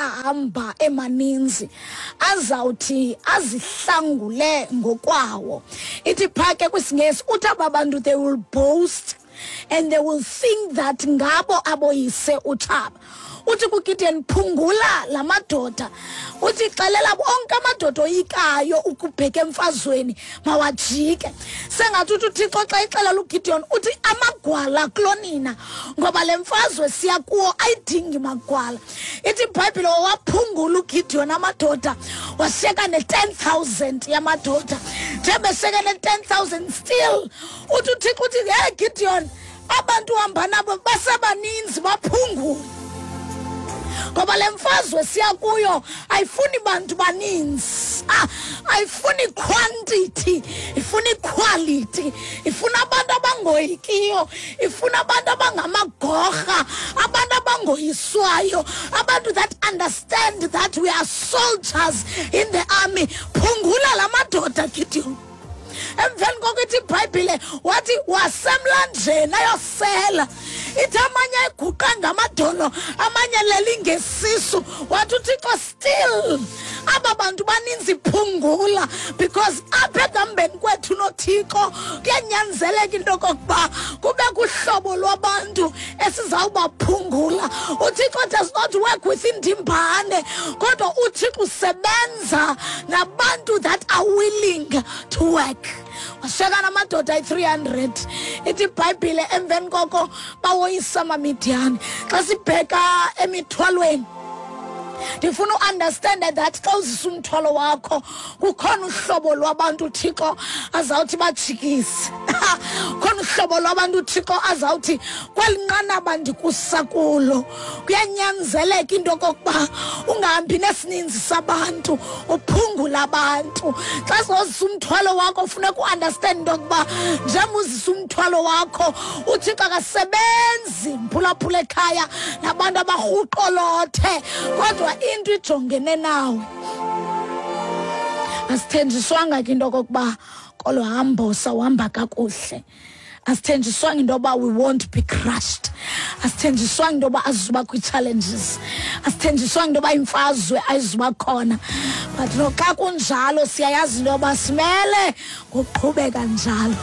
ahamba emaninzi azawuthi azihlangule ngokwawo. Ithi phaa ke kwisiNgesi uthi aba bantu they will boast and they will think that ngabo aboyise utshaba. Uthi kuGideon, phungula la madoda. Uthi xelela onke amadoda oyikayo ukubheka emfazweni mawajike. Sengathi uthi uThixo xa ixelela uGideon uthi amagwala kulonina, ngoba le mfazwe siya kuwo ayidingi magwala. Ithi iBhayibhile waphungula uGideon amadoda, washiyeka ne-10,000 yamadoda. Njengoba eshiyeke ne-10,000 still uthi uThixo uthi, hey Gideon, abantu uhamba nabo basebaninzi, baphungule, ngoba le mfazwe siya kuyo ayifuni bantu baninzi, ayifuni quantity, ifuna quality, ifuna abantu abangoyikiyo, ifuna abantu abangamagorha, abantu abangoyiswayo, abantu that understand that we are soldiers in the army. Phungula la madoda, Gideon. Emveni koko ithi iBhayibhile wathi wasemlanjeni ayosela. Ithi amanye ayiguqa ngamadolo, amanye lelingesisu. Wathi uThixo still aba bantu baninzi, phungula, because apha ekuhambeni kwethu noThixo kuyanyanzeleka into okokuba kube kuhlobo lwabantu esizawubaphungula. UThixo does not work with indimbane, kodwa uThixo usebenza nabantu that are willing to work. Washiyeka namadoda ayi-300. Ithi iBhayibhile emveni koko bawoyisa amaMidiyani. Xa sibheka emithwalweni, ndifuna uunderstande that xa uzisa umthwalo wakho kukhona uhlobo lwabantu uThixo azawuthi bajikise, khona uhlobo lwabantu uThixo azawuthi kweli nqanaba ndikusa kulo kuyanyanzeleka into okokuba ungahambi nesininzi sabantu, uphungula abantu. Xa sizozisa umthwalo wakho funeka uunderstand into yokuba njengoba uzisa umthwalo wakho uThixo akasebenzi mphulaphula ekhaya nabantu abarhuqolothe, kodwa into ijongene nawe. Asithenjiswanga ke into okokuba kolo hambo sawuhamba kakuhle, asithenjiswanga into yoba we won't be crushed, asithenjiswanga into yoba azizuba kwi-challenges, asithenjiswanga into yoba imfazwe ayizuba khona, but noxa kunjalo siyayazi into yoba simele ngokuqhubeka njalo.